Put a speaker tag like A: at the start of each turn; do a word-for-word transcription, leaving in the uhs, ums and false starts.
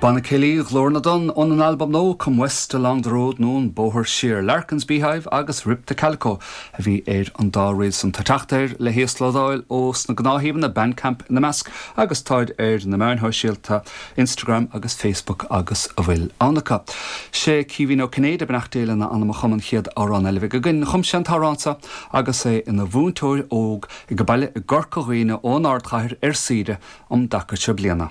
A: Banna Céilí Ghlór na dTonn ón an albam nua Come West Along the Road nó an Bóthar Siar Larkin's Beehive agus Rip the Calico a bhí ar an dá ríl san tá teacht air le híoslódáil ó sna gnáthshuíomhanna Bandcamp ina measc agus táid ar na meáin shóisialta Instagram agus Facebook agus a bhfuil ann acu. Sé Caoimhín Ó Cinnéide beannacht Dé lena anam a chum an chéad amhrán eile againn chum sé an t-amhrán seo agus é ina mhúinteoir óg ag baile i gCorca Dhuibhne ón ardchathair ar saoire um dtaca seo bliana.